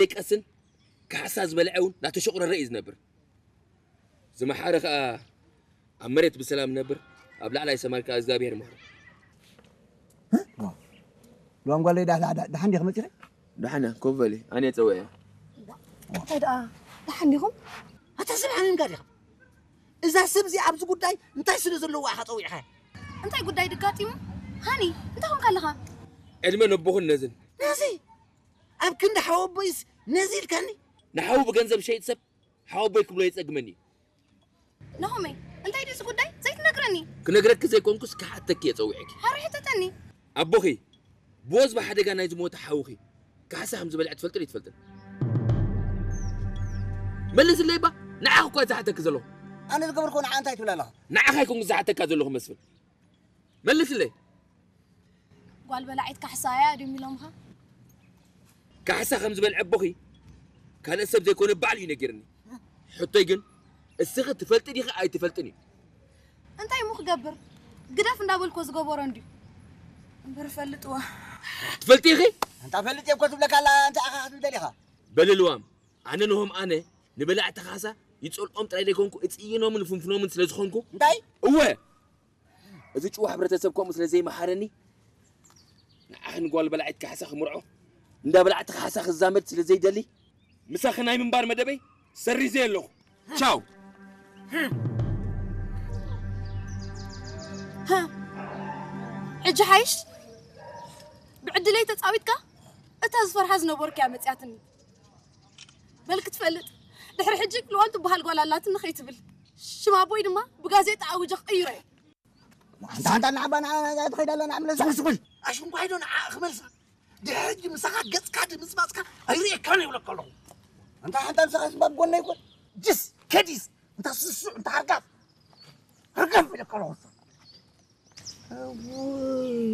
ደቀስን ካሕሳ ዝበልዐ እውን እናተሸቑረረ እዩ ዝነብር። ዝመሓረ ከዓ ኣብ መሬት ብሰላም ነብር፣ ኣብ ላዕላይ ሰማይ ከዓ እግዚኣብሔር ይምሕሮ። ሎም ጓለይ ዳ- ዳ- ዳ- ደሓን ዲኺ መፂኺ? ደሓን እያ፣ ኮፍ በሊ፣ ኣነ እየ ፀውዐያ። እንታይ ደኣ ደሓን ዲኹም? ኣታ ሰብ ሓሚምካ ዲኻ? እዛ ሰብ እዚኣ ኣብዚ ጉዳይ እንታይ ስለ ዘለዋ ኢኻ ፀዊዕኻ? እንታይ ጉዳይ ድጋጢሙ? ሃኒ እንታይ ኾንካ ኣለኻ? ዕድመ ነቦኹን ነዝን። ነዚ ኣብ ክንዲ ሓወቦይስ ነዚ ኢልካኒ? ንሓዉ ብገንዘብ ሸይጥ ሰብ ሓወቦይ ክብሎ የፀግመኒ እዩ። ናሆመይ እንታይ ድዩ እዚ ጉዳይ ዘይትነግረኒ? ክነግረኪ ዘይኮንኩስ ክሓተኪ እየ ፀዊዐኪ። ሓረ ሕተተኒ። ኣቦኺ ብወዝቢ ሓደጋ ናይ ዝሞተ ሓውኺ ካሕሳ ከም ዝበልዐ ትፈልጥን ይትፈልጥን? መልስለይ እባ፣ ንዓኺ እኳ ዝሓተኪ ዘለኹ። ኣነ ዝገበርኩ ንዓ እንታይ ትብል ኣለኻ? ንዓኻ ኣይኮንኩ ዝሓተካ ዘለኹ መስፍን። መልስለይ። ጓል በላዒት ካሕሳ እያ ድም ኢሎምኻ? ካሕሳ ከም ዝበልዐ ኣቦኺ ካልእ ሰብ ዘይኮነ ባዕሉ እዩ ነጊርኒ። ሕቶይ ግን እስኺ ትፈልጢ ዲኺ ኣይትፈልጥን እዩ። እንታይ እሞ ክገብር ግደፍ እንዳበልኮ ዝገበሮ እንድዩ እምበር ፈልጥዋ። ትፈልጢ ኢኺ? እንታ ፈልጥ እየ እኮ ትብለካ ኣላ እንታይ ኣኻ ክትብል ደሊኻ? በልልዋም ኣነ ንሆም ኣነ ንበላዕቲ ካሕሳ ይጸልኦም ጥራይ ዘይኮንኩ እጽይኖምን ፍንፍኖምን ስለ ዝኾንኩ እንታይ? እወ እዚ ጭዋ ሕብረተሰብ ከምኡ ስለ ዘይመሓረኒ ንዓኺ ንጓል በላዒት ካሕሳ ክምርዖ እንዳ በላዕቲ ካሕሳ ክዛመድ ስለ ዘይደሊ ምሳኺ ናይ ምንባር መደበይ ሰሪዘ ኣለኹ። ቻው። ሕጂ ሓይሽ ብዕድለይ ተጻዊትካ እታ ዝፈርሓ ዝነበርኩ እያ መጽያትኒ። በል ክትፈልጥ ድሕሪ ሕጂ ልዋም ትበሃል ጓል ኣላትኒ ከይትብል ሽም ኣቦይ ድማ ብጋዜጣ ኣውጀ ክቕይሮ እየ። ኣንታ ኣንታ ንዓባ ንዓ ትኸይድ ኣላ ንዓ ምለሳ ስኹል ኣሽንኳይዶ ንዓ ክመልሳ ድሕሪ ሕጂ ምሳኻ ገጽካ ድምፅማፅካ ኣይርእየካን ይብለካ ኣለኹ። ኣንታ ሓንታ ምሳኻ ስባብ ጎና ይኮን ጅስ ከዲስ እንታ ስሱዕ እንታ ሃርጋፍ ሃርጋፍ ይብለካ ኣለኹ።